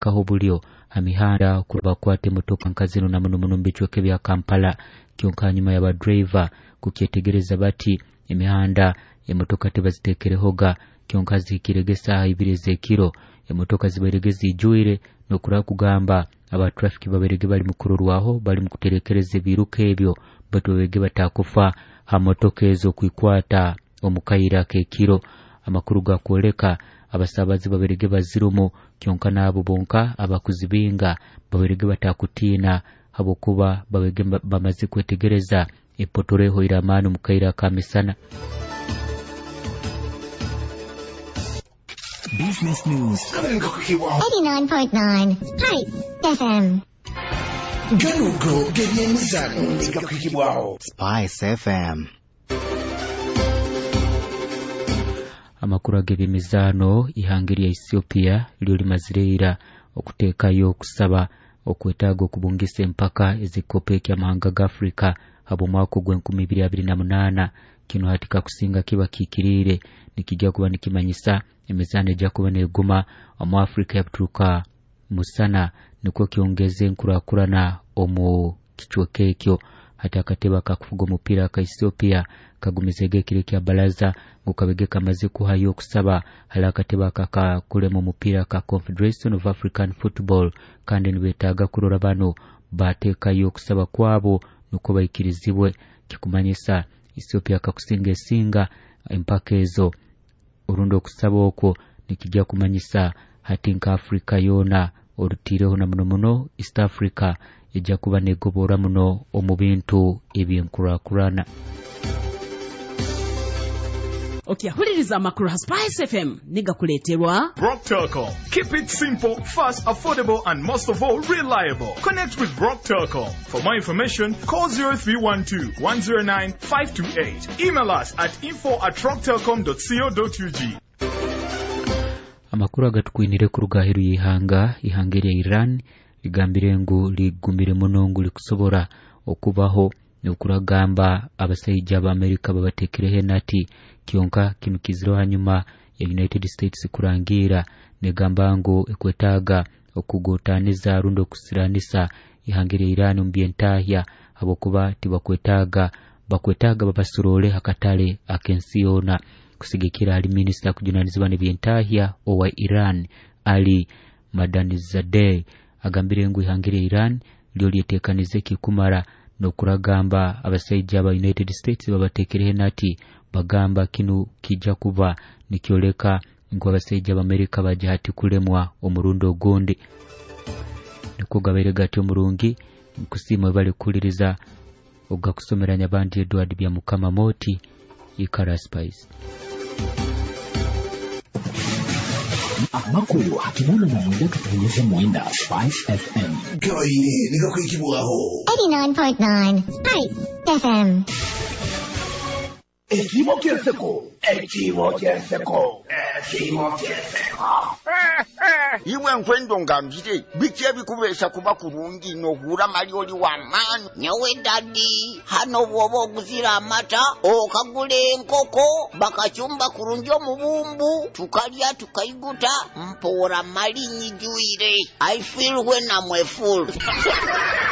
Kaho bulyo ha mihanda bakwata emotoka nka zinu na muno muno mu bicweka ebya Kampala. Kyonka hanyuma y'abadriver kukyetegereza bati emihanda emotoka tibazitekerehoga, kyonka zihikirege esaaha 2 ez'ekiro emotoka zibairege zijwire, n'okuraba kugamba aba traffic babairege bali mukurorwaho bali mukuterekereza ebiiruka ebyo, baitu babairege batakufa ha motoka ezo kwikwata omu kaire ak'ekiro. Amakuru gakwoleka abasabazi babairege bazirumu, kyonka n'abo bonka abakuzibinga babairege batakutiina habwokuba babairege bamaze kwetegereza epotoro ehoire amaani omu kaire aka misana. Business News. 89.9 Spice FM. Ganugo g'ebyemizano nigakuhikibwaho Spice FM. Amakuru ag'ebyemizaano, ihanga erya Ethiopia lyo limazire ira okuteekayo okusaba okwetaaga okubungisa empaka ez'ekikopo eky'amahanga ga Afrika habw'omwaka ogw'e 2028. Kinu hati kakusinga kiba kihikiriire, nikijja kuba nikimanyisa emizaano ejja kuba neguma omu Afrika yabuturuka musana, nikwo kyongeze enkurakurana omu kicweka ekyo. Hati akatebe akakufuga omupiira aka Ethiopia kagumizege ekiro ekya baraza ngu kabege kamaze kuhayo okusaba hali akatebe akakakulema omupiira ka Confederation of African Football, kandi nibetaaga kurora bano bateekayo okusaba kwabo nukwo baikirizibwe. Kikumanyisa Ethiopia kakusinga esinga empaka ezo orundi okusaba okwo nikijja kumanyisa hati nka Afrika yoona orutiireho na muno muno East Africa ejja kuba negobora muno omu bintu ebyenkurakurana. Okyahuliriza amakuru ha Spice FM nigakuleeterwa Brock Telecom. Keep it simple, fast, affordable, and most of all, reliable. Connect with Brock Telecom. For more information, call 0312 109 528. Email us at info@rocktelecom.co.ug. Amakuru agatukwinire kuruga aheru y'ihanga, ihanga erya Iran ligambire ngu ligumire muno ngu likusobora okubaho, nokuragamba abasaija ba Amerika babatekereho enati. Kyonka kinu kizireho hanyuma ya United States kurangiira negamba ngu ekwetaaga okugotaniza rundi okusiranisa ihanga erya Iran omu byentahya, habwokuba tibakwetaaga, bakwetaaga babasorole akatale ak'ensi yoona. Kusigikira hali minisita kujunanizibwa n'ebyentahya owa Iran Ali Madanizadeh, agambire ngu ihanga erya Iran lyo lyetekanize kikumara, n'okuragamba abasaija ba United States babatekereho enati. Bagamba kinu kijja kuba nikyoleka ngu abasaija ba Amerika bajja hati kulemwa omurundi ogundi. Nikwo gabaire gati omurungi nkusiima bali kukuliriza ogakusomera Nyabandi Edward bya Mukama Moti Ikara Spice. Amakuru 89.9 Spice FM. Gabaire nigakuhikibwaho 89.9 Spice FM. Ekimo kyenseko, ekimo kyenseko, ekimo kyenseko. Iwe nkwendo ngambire biki ebikubeesa kuba kurungi nohura mali oli w'amaani? Nyowe dadi, hano bw'oba oguzira amata okagula enkoko bakacumba kurungi omubumbu, tukalya tukaiguta, mpoora mali nyijwire. I feel when I'm a fool.